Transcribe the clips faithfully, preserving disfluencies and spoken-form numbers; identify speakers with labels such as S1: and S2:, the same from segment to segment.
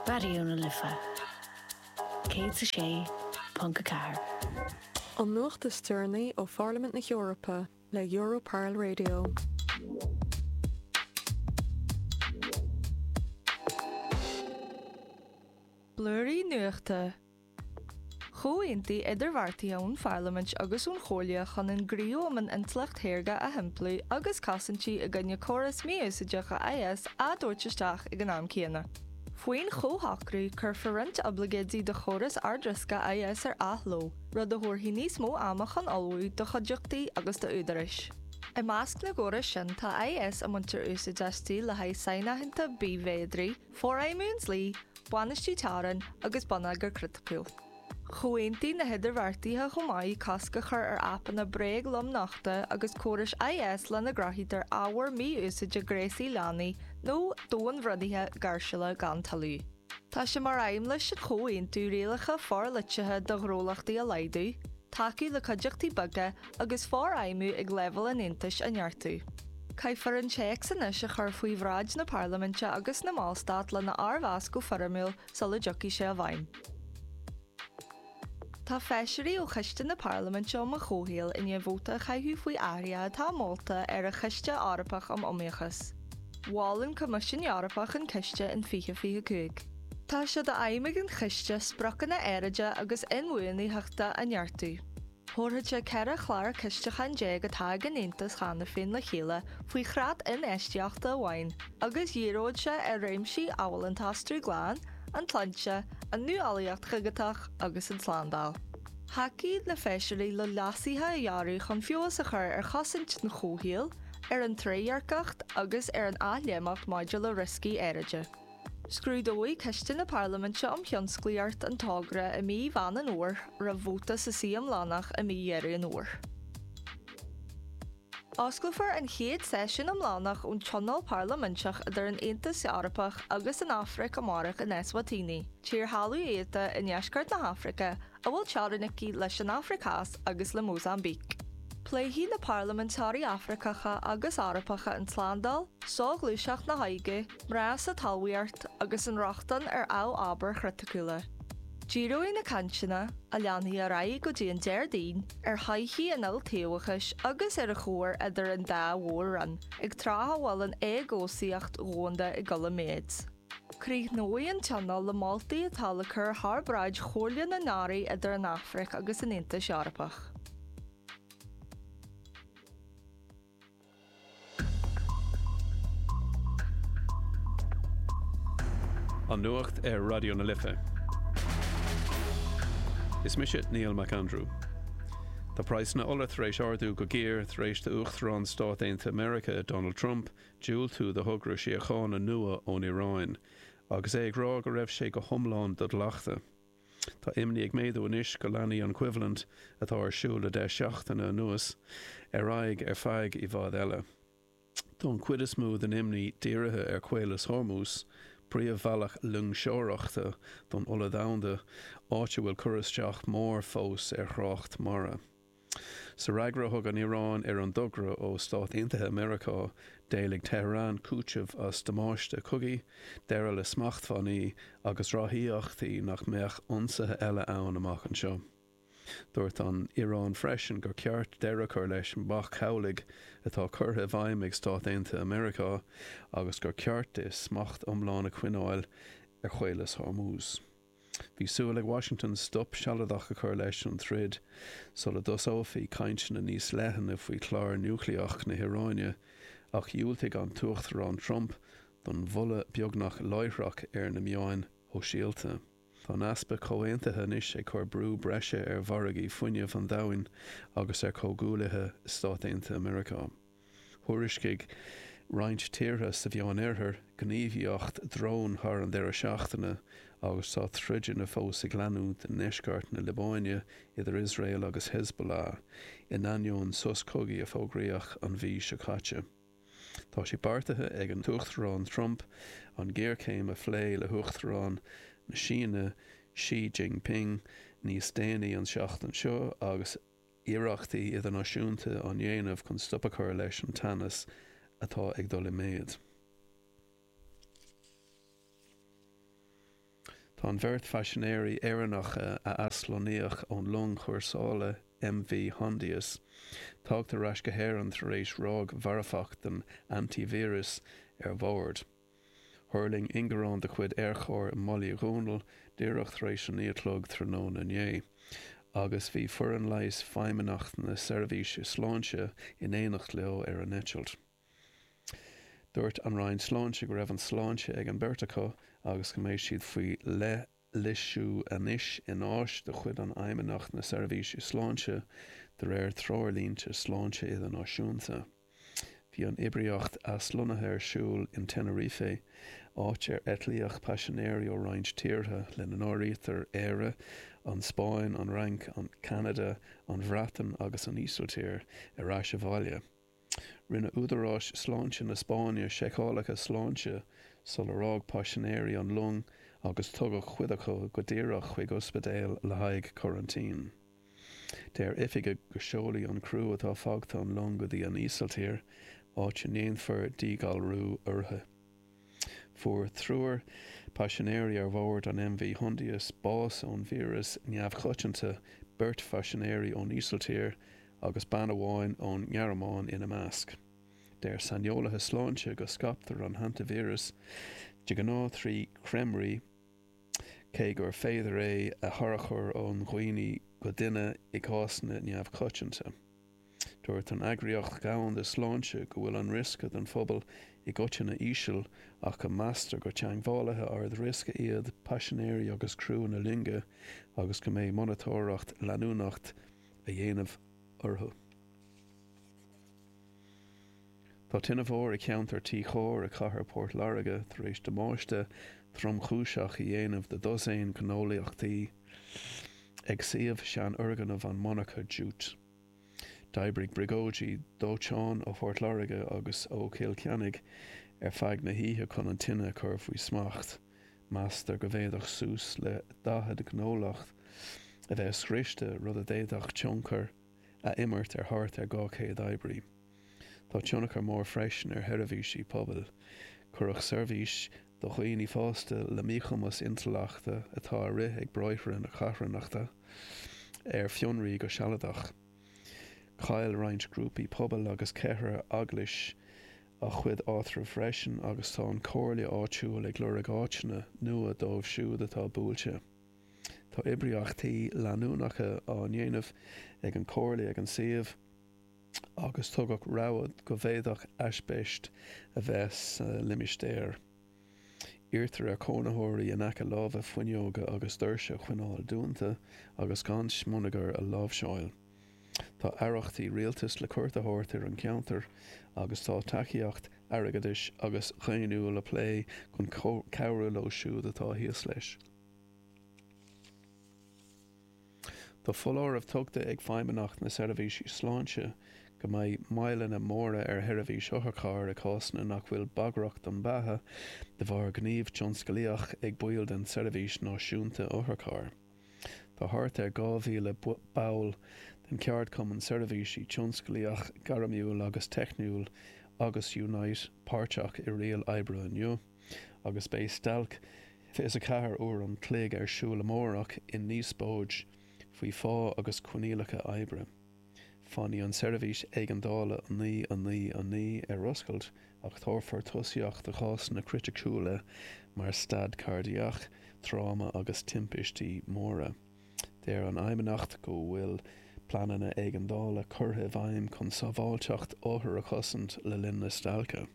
S1: Raidió na Life céad a sé ponc a ceathair.
S2: An nuacht is deireanaí ó Pharlaimint na hEorpa le Europarl Radio.
S3: Blúirí Nuachta. Chomhaontaigh idirbheartaithe ón Pharlaimint agus ón Chomhairle chun an Gníomh um an Intleacht Shaorga a shimpliú agus cosaintí i gcoinne córas mí-úsáideach I S á dtabhairt isteach ag an am céanna. Faoin chomhshocrú, cuirfear roinnt oibleagáidí do chóras ardriosca I S ar athló, rud a thabharfaidh níos mó ama chun ullmhú do chuideachtaí agus d'údaráis. I measc na gcóras sin tá I S a mbaintear úsáid aisti le haghaidh sainaitheanta bithmhéadraí, forfheidhmiú an dlí, bainistiú teorann agus bonneagar criticiúil. Chomhaontaigh na hidirbheartaithe chomh maith cosc a chur ar aipeanna bréag-lomnochtadh agus córais I S lena gcruthaítear ábhar mí-úsáide gnéasaí leanaí nó domhainbhrionnaithe gáirsiúla gan toiliú. Tá sé mar aidhm leis an chomhaontú rialacha forliteacha do ghnólachtaí a laghdú, tacú le cuideachtaí beaga agus forfheidhmiú ag leibhéal an Aontais a neartú. Caithfear an téacs anois a chur faoi bhráid na Parlaiminte agus na mBallstát lena fhormheas go foirmiúil sula dtiocfaidh sé i bhfeidhm. Tá feisirí ó Choiste na Parlaiminte um an Chomhshaol i ndiaidh vóta a chaitheamh faoi athruithe atá molta ar an Chiste Eorpach um Iomaíochas. Mhol an Coimisiún Eorpach an ciste in fiche fiche cúig. Tá sé d'aidhm ag an chiste spriocanna aeráide agus inbhuanaitheachta a neartú. Thabharfadh sé ceithre chlár cistiúcháin déag atá ag an Aontas cheana féin le chéile faoi chreat infheistíochta amháin, agus dhíreodh sé ar réimsí amhail an t-aistriú glan, an tsláinte, an nuálaíocht dhigiteach agus an tslándáil. Thacaigh na feisirí le leasuithe a dhearadh chun feabhas a chur ar chosaint an chomhshaoil, ar an trédhearcacht agus ar an athléimneacht maidir le rioscaí aeráide. Scrúdóidh Coiste na Parlaiminte um Thionsclaíocht an togra i mí Mheán an Fhómhair roimh vóta sa suí iomlánach i mí Dheireadh an Fhómhair. Osclófar an chéad seisiún iomlánach ón Tionól Parlaiminteach idir an Aontas Eorpach agus an Afraic amárach in Eswatini, tír thalamhiata i ndeisceart na hAfraice a bhfuil teorainn aici leis an Afraic Theas agus le Mósaimbíc. Pléifidh na parlaiminteoirí Afracacha agus Eorpacha an tslándáil, soghluaisteacht na hóige, mná sa talmhaíocht agus an rochtain ar amhábhair chriticiúla. Díreoidh na cainteanna, a leanfaidh ar aghaidh go dtí an Déardaoin, ar thodhchaí an iltaobhachais agus ar an chomhar idir an dá mhór-roinn, ag tráth a bhfuil an éagobhsaíocht dhomhanda ag dul i méid. Críochnóidh an tionól le moltaí atá le cur thar bráid Chomhairle na nAirí idir an Afraic agus an Aontas Eorpach.
S4: An nuacht ar Raidió na Life. Is mise Neil McAndrew. Tá praghsanna ola tar éis ardú go géar tar éis d'Uachtarán Stáit Aontaithe Meiriceá Donald Trump diúltú do thogra síochána nua ón Iaráin, agus é ag rá go raibh sé go hiomlán do-ghlactha. Tá imní ag méadú anois go leanfaidh an choimhlint atá ar siúl le deich seachtaine anuas ar aghaidh ar feadh i bhfad eile. Tá an chuid is mó den imní dírithe ar Chaolas Hormuz, príomhbhealach loingseoireachta don ola domhanda, áit a bhfuil cur isteach mór fós ar thrácht mara. Sa fhreagra a thug an Iaráin ar an dtogra ó Stáit Aontaithe Meiriceá, d'éiligh Tehran cúiteamh as damáiste cogaidh, deireadh le smachtbhannaí agus ráthaíochtaí nach mbeadh ionsaithe eile ann amach anseo. Dúirt an Iaráin freisin gur ceart deireadh a chur leis an bac cabhlaigh atá curtha i bhfeidhm ag Stáit Aontaithe Meiriceá agus gur ceart di smacht iomlán a choinneáil ar Chaolas Hormuz. Bhí súil ag Washington stop sealadach a chur leis an troid sula dtosófaí cainteanna níos leithne faoi chlár núicléach na hIaráine, ach dhiúltaigh an tUachtarán Trump don mholadh beagnach láithreach ar na meáin shóisialta. Tá an easpa comhaontaithe anois ag cur brú breise ar mhargaí fuinnimh an domhain agus ar chomhghuaillithe Stáit Aontaithe Meiriceá. Thuairiscigh roinnt tíortha sa Mheánoirthear gníomhaíocht drón thar an deireadh seachtaine agus tá troideanna fós ag leanúint i ndeisceart na Liobáine idir Iosrael agus Hezbollah, in ainneoin sos cogaidh a fógraíodh an mhí seo caite. Tá sé beartaithe ag an tUachtarán Trump an ghéarchéim a phlé le hUachtarán na Síne Xi Jinping níos déanaí an tseachtain seo agus iarrachtaí idirnáisiúnta á ndéanamh chun stop a chur leis an teannas atá ag dul i méid. Tá an bheirt phaisinéirí Éireannacha a aslonnaíodh ón long chúrsála M V Hondius tagtha ar ais go hÉirinn tar éis ráig mharfach den hantavíreas ar bord. Thuirling ingearán de chuid Aerchór i mBaile Dhúnaill díreach tar éis a naoi a chlog tráthnóna inné, agus bhí foireann leighis Feidhmeannacht na Seirbhíse Sláinte in éineacht leo ar an eitilt. Dúirt an Roinn Sláinte go raibh an sláinte ag an beirt acu agus go mbeidh siad faoi leithlisiú anois in áis de chuid an Fheidhmeannacht na Seirbhíse Sláinte de réir treoirlínte sláinte idirnáisiúnta. Bhí an oibríocht aslonnaithe ar siúl in Tenerife, áit ar eitlíodh paisinéirí ó roinnt tíortha lena n-áirítear Éire, an Spáinn, an Fhrainc, an Ceanada, an Bhreatain agus an Ísiltír ar ais abhaile. Rinne údaráis sláinte na Spáinne seiceálacha sláinte sular fhág paisinéirí an long agus tugadh cuid acu go díreach chuig ospidéal le haghaidh coraintín. Deir oifigigh go seolfaidh an criú atá fágtha an long go dtí an Ísiltír, áit a ndéanfar díghalrú orthu. Fuair triúr paisinéirí ar bhord an M V Hondius bás ón víreas neamhchoitianta, beirt phaisinéirí ón Ísiltír agus bean amháin ón nGearmáin ina measc. Deir saineolaithe sláinte go scaiptear an hantavíreas de ghnáth trí chreimrí, cé gur féidir é a tharchur ó dhuine go duine i gcásanna neamhchoitianta. Dúirt an Eagraíocht Dhomhanda Sláinte go bhfuil an riosca don phobal i gcoitinne íseal ach go meastar gur teagmhálaithe ard-riosca iad paisinéirí agus criú na loinge agus go mbeidh monatóireacht leanúnach á dhéanamh orthu. Tá tine mhór i gceantar Tí Chóir i gcathair Port Láirge tar éis damáiste tromchúiseach a dhéanamh do dosaen gnólachtaí ag suíomh seanfhoirgneamh an monarcha jute. D'oibrigh briogáidí dóiteáin ó Phort Láirge agus ó Chill Chainnigh ar feadh na hoíche chun an tine a chur faoi smacht. Meastar go bhféadfadh suas le daichead gnólacht a bheith scriosta, rud a d'fhéadfadh tionchar a imirt ar thart ar dhá chéad oibrí. Tá tionchar mór freisin ar sheirbhísí pobail. Cuireadh seirbhís do dhaoine fásta le míchumas intleachta atá á rith ag Bráithre na Carthanachta ar fionraí go sealadach. Chaill roinnt grúpaí pobail agus ceithre eaglais a gcuid áitreabh freisin agus tá an chomhairle áitiúil ag lorg áiteanna nua dóibh siúd atá buailte. Tá oibríochtaí leanúnacha á ndéanamh ag an chomhairle ag an suíomh agus tugadh rabhadh go bhféadfadh aispeist a bheith sa limistéar. Iarrtar ar chónaitheoirí in aice láimhe fuinneoga agus doirse a choinneáil dúnta agus gan smionagar a láimhseáil. Tá aireachtaí rialtais le cuairt a thabhairt ar an gceantar agus tá tacaíocht airgeadais agus dhaonnúil á plé chun cabhrú leo siúd atá thíos leis. Tá foláireamh tugtha ag Feidhmeannacht na Seirbhíse Sláinte go mbeidh moilleanna móra ar sheirbhís otharchairr i cásanna nach bhfuil bagrach don bheatha de bharr gníomh tionsclaíoch ag baill den tSeirbhís Náisiúnta Otharchairr. Tá thart ar dhá mhíle ball den cheardchumann Seirbhísí Tionsclaíoch Gairmiúil agus Teicniúil agus Unite páirteach i riail oibre inniu, agus beidh stailc fiche a ceathair uair an chloig ar siúl amárach i ndíospóid faoi phá agus coinníollacha oibre. Fanfaidh an tseirbhís éigeandála a naoi a naoi a naoi ar oscailt ach tabharfar tosaíocht do chásanna criticiúla mar stad cairdiach, tráma agus timpistí móra. Deir an Fheidhmeannacht go bhfuil pleananna éigeandála curtha i bhfeidhm chun sábháilteacht othar a chosaint le linn na stailce.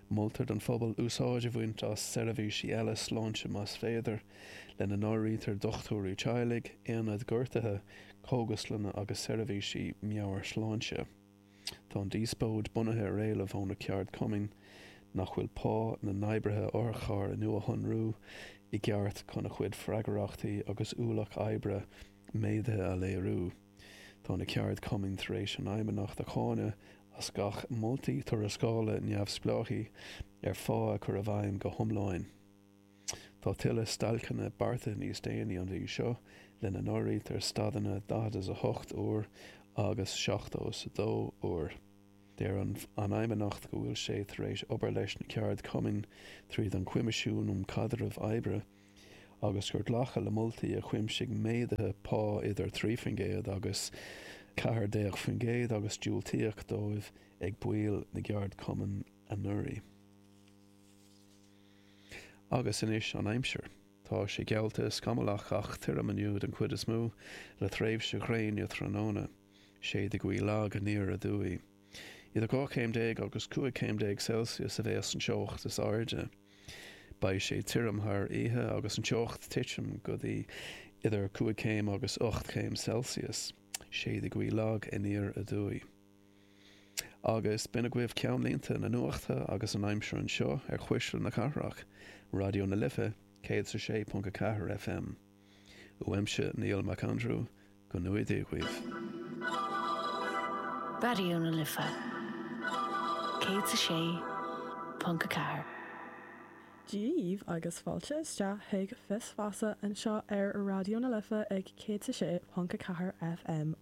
S4: Moltar don phobal úsáid a bhaint as seirbhísí eile sláinte más féidir, lena n-áirítear dochtúirí teaghlaigh, aonaid gortaithe, cógaslanna agus seirbhísí meabhairshláinte. Tá an díospóid bunaithe ar éileamh ó na ceardchumainn nach bhfuil pá na n-oibrithe otharchairr a nuashonrú i gceart chun a gcuid freagrachtaí agus ualach oibre méadaithe a léiriú. Tá na ceardchumainn tar éis an Fheidhmeannacht a cháineadh as gach moltaí tuarascála neamhspleáchaí ar phá a chur i bhfeidhm go hiomlán. Tá tuilleadh stailceanna beartaithe níos déanaí an mhí seo, lena n-áirítear stadanna daichead is a hocht uair agus seachtó is a dó uair. Deir an Fheidhmeannacht go bhfuil sé tar éis obair leis na ceardchumainn tríd an Choimisiún um Chaidreamh Oibre agus gur glacadh le moltaí a chuimsigh méaduithe pá idir trí faoin gcéad agus ceathair déag faoin gcéad agus diúltaíodh dóibh ag baill na gceardchumann anuraidh. Agus anois an aimsir. Tá sé geallta scamallach ach tirim inniu den chuid is mó, le tréimhse ghréine tráthnóna. Séidfidh gaoth lag aniar aduaidh. Idir dhá chéim déag agus cúig chéim déag Celsius a bheas an teocht is airde. Beidh sé tirim thar oíche agus an teocht titim go dtí idir cúig chéim agus ocht chéim Celsius. Séidfidh gaoth lag aniar aduaidh. Agus b'in agaibh ceannlínte na nuachta agus an aimsir anseo ar Chuisle na Cathrach, Raidió na Life, céad is a sé ponc a ceathair FM. Uaimse Niall McAndrew, go ngnóthaí Dia dhaoibh.
S1: Raidió na Life, céad is a sé ponc a ceathair.
S5: Dia dhaoibh agus fáilte isteach chuig Fios Feasa anseo ar Raidió na Life ag céad is a sé ponc a ceathair FM.